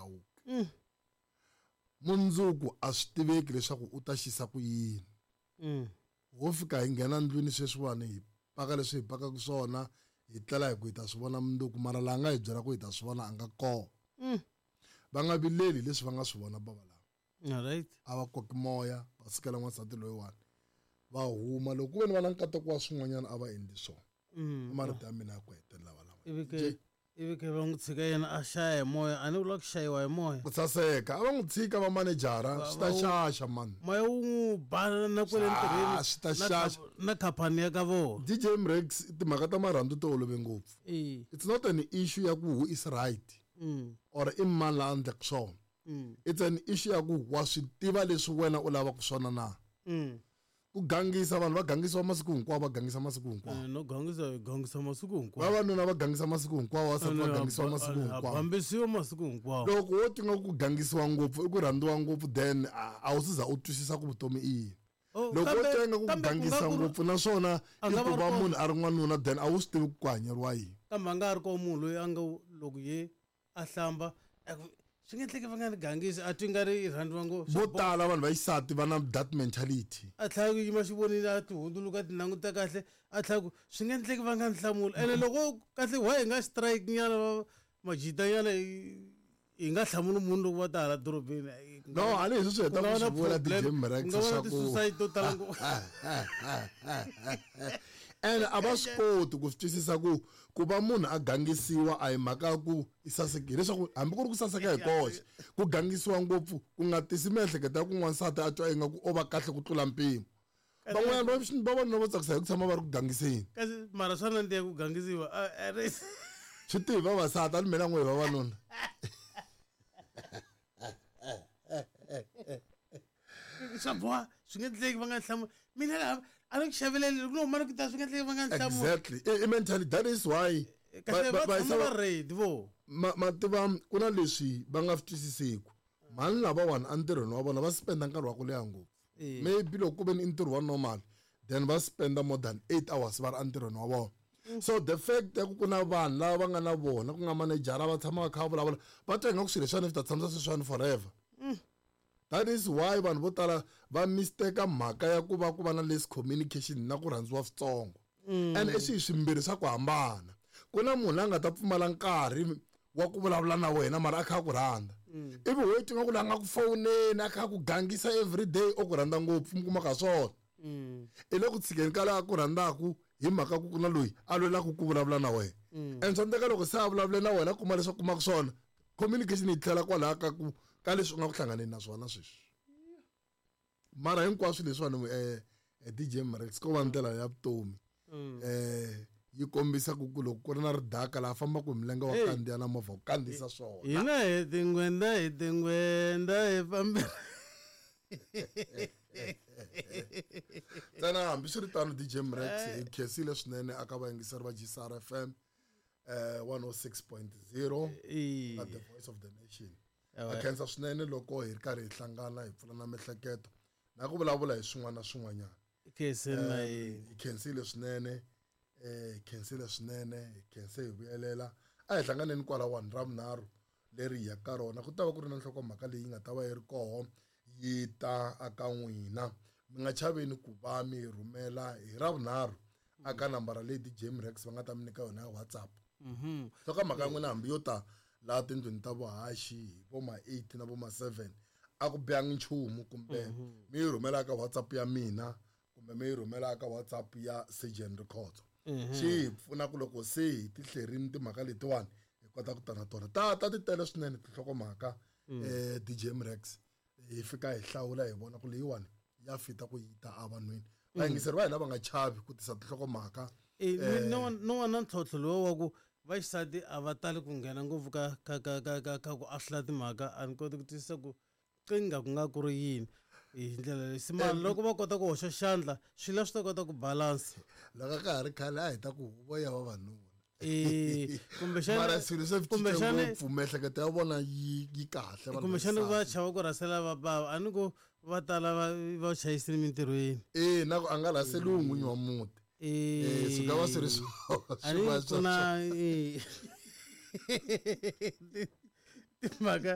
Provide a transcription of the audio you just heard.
Chauke. Mundzuku a swi tiveki leswaku u ta xisa ku yini. Ho fika hi nghena ndlwini sweswiwani hi paka leswi hi pakaka swona hi tlela hi ku hi ta swi vona mundzuku mara laha nga hi byela ku hi ta swi vona a nga kona. Va nga vileli leswi va nga swi vona bava lava. Alright. A va koki moya va sukela n'wansati loyiwani va huma loko ku ve ni va na nkateko wa swin'wanyana a va endli swona. I marito ya mina ya ku hetelela valava. Ivi ke ivi ke va n'wi tshika yena a xaya hi moya a ni vula ku xayiwa hi moya. Ku saseka a va n'wi tshika va manejara swi ta xaxa mani. Moya wu n'wi ba na kwale ntirhweni swi ta xaxa. Na khampani ya ka vona. DJ Mrex timhaka ta marhandzu ti olove ngopfu. It's not an issue ya ku who is right or i mani la endlaka swona. It's an issue ya ku wa swi tiva leswi wena u lavaka swona na. Ku gangisa vanhu va gangisiwa masiku hinkwawo va gangisa masiku hinkwawo. No gangisa hi gangisa masiku hinkwawo. Vavanuna va gangisa masiku hinkwawo vavasati va gangisiwa masiku hinkwawo. Bambisiwa masiku hinkwawo. Loko wo twa ku gangisiwa ngopfu i ku rhandziwa ngopfu then a wu se za u twisisa ku vutomi i yini. Loko wo twa ingaku ku gangisa ngopfu naswona i ku va munhu a ri n'wanuna then a wu swi tivi ku ku hanyeriwa yini. Kambe a nga ha ri kona munhu loyi a nga loko ye a hlamba a ku swi nge endleki va nga ni gangisi a twi nga ri i rhandziwa ngopfu vo tala vanhu va xisati va na that mentality a tlhela ku yima xivonini a ti hundzuluka a ti languta kahle a tlhela ku swi nge endleki va nga ni hlamuli ene loko kahle why hi nga strike nyana va majita nyana hi nga hlamuli munhu loko va ta hala dorobeni no a ni hi swi heta ku swi vula DJ Mrex swa ku ti-suicide to tala ngopfu ene a va swi koti ku swi twisisa ku ku va munhu a gangisiwa a hi mhaka ya ku i sasekile leswaku hambi ku ri ku saseka hi koxe ku gangisiwa ngopfu ku nga tisi miehleketo ya ku n'wansati a twa ingaku o va kahle ku tlula mpimo van'wanyana vavanuna vo tsakisa hi ku tshama va ri ku gangiseni kasi mara swa nandziha ku gangisiwa swi tivi vavasati a ni mina n'we hi vavanuna swa boha swi nge endleki va nga hlamuli mina laha a ni ku xaveleli loko no huma ni ku ta swi nge endleki va nga hlamuli exactly i mentality that is why kahle va tshama va ready vo ma tiva ku na leswi va nga swi twisiseku mhani lavawani entirhweni wa vona va spenda nkarhi wa ku leha ngopfu maybe loko ku ve ni i ntirho wa normal then va spenda more than 8 hours va ri entirhweni wa vona so the fact ya ku ku na vanhu lava va nga na vona ku nga manejara va tshama va kha va vulavula va twa ingaku swilo leswiwani swi ta tshamisa sweswiwani forever that is why vanhu vo tala va mistake mhaka ya ku va ku va na less communication na ku rhandziwa switsongo and i swilo swimbirhi swa ku hambana ku na munhu la nga ta pfumala nkarhi wa ku vulavula na wena mara a kha a ku rhandza ivi wo twa ku la nga ku fowuneni a kha a ku gangisa everyday o ku rhandza ngopfu mi kuma ka swona i le ku tshikeni ka laha ku rhandzaku hi mhaka ku ku na loyi a lwelaka ku vulavula na wena and swa endleka loko se a vulavule na wena kuma leswi a kumaka swona communication yi tlhela kwalaha ka ku ka leswi u nga ku hlanganeni na swona sweswi mara hinkwaswo leswiwani DJ Mrex ko va ndlela ya vutomi yi kombisa ku ku loko ku ri na ridaka laha fambaka hi milenge wa kandziya na movha wu kandziyisa swona hina hi tingwenda hi tingwenda hi fambela ntsena hambiswiritano DJ Mrex hi khensile swinene aka vayingiseri va GCR FM 106.0 na the voice of the nation a khensa swinene loko hi ri karhi hi hlangana hi pfula na miehleketo na ku vulavula hi swin'wana na swin'wanyana hi khensile swinene hi khensile swinene hi khense hi vuyelela a hi hlanganeni kwalawani ra vunharhu leri hi yaka ka rona ku ta va ku ri na nhlokomhaka leyi nga ta va yi ri koho yi ta aka n'wina mi nga chaveni ku va mi rhumela hi ra vunharhu aka nambara leyi DJ Mrex va nga ta mi nyika yona ya WhatsApp nhlokomhaka ya n'wina hambi yo ta laha tindlwini ta vuhaxi hi vo ma 8 na vo ma 7 a ku bihangi nchumu kumbe mi yi rhumela ka WhatsApp ya mina kumbe mi yi rhumela ka WhatsApp ya Surgeon Rikhotso swi hi pfuna ku loko se hi ti hlerini timhaka letiwani hi kota ku ta na tona ta ta ti tele swinene tinhlokomhaka DJ Mrex hi fika hi hlawula hi vona ku leyiwani ya fita ku yi ta evanhwini vayingiseri va hina va nga chavi ku tisa tinhlokomhaka no wa na ntlhontlho lowu wa ku vaxisati a va tali ku nghena ngopfu ka ka ka ka ka ka ku ahlula timhaka a ni koti ku twisisa ku qinga ku nga ku ri yini hi ndlela leyi simana loko va kota ku hoxa xandla swilo swi ta kota ku balance loko ka ha ri khale a hi ta ku huvo ya vavanuna kumbexana mara swilo se swi cince ngopfu miehleketo ya vona yi yi kahle kumbexana va chava ku rhasela va bava a ni ku va tala va va chayisile mintirhweni e na ku a nga rhaseliwi n'winyi wa muti swi nga va swi ri swona ku na timhaka